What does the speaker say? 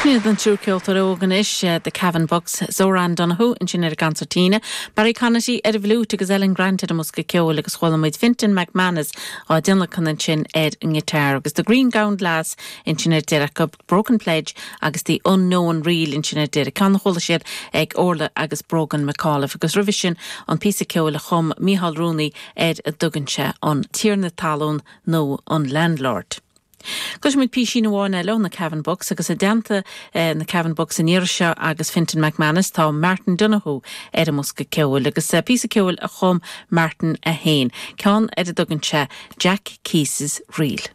Sin iad an triúr ceoltóir óg anois, The Cavan Bucks, Zoran Donoghue ansin ar an gconsairtín, Barry Conaty ar an bhfliúit agus Ellen Grant ar an mbosca ceoil agus chuala muid Fintan McManus á dtionlacan ansin ar an ngiotár agus The Green Gowned Lass ansin ar deireadh acu, Broken Pledge agus The Unknown Reel ansin ar deireadh, ceann a chuala siad ag Orla agus Brogan McAuliffe agus roimhe sin an píosa ceoil a chum Micheál Rooney ar a dtugann sé An Tiarna Talún nó An Landlord. Cloisfidh muid písín amháin eile ó na Cavan Bucks agus i dteannta na Cavan Bucks an iarraidh seo agus Fintan McManus tá Martin Donoghue ar an mbosca ceoil agus píosa ceoil a chum Martin é féin, ceann ar a dtugann sé Jack Keyes's Reel.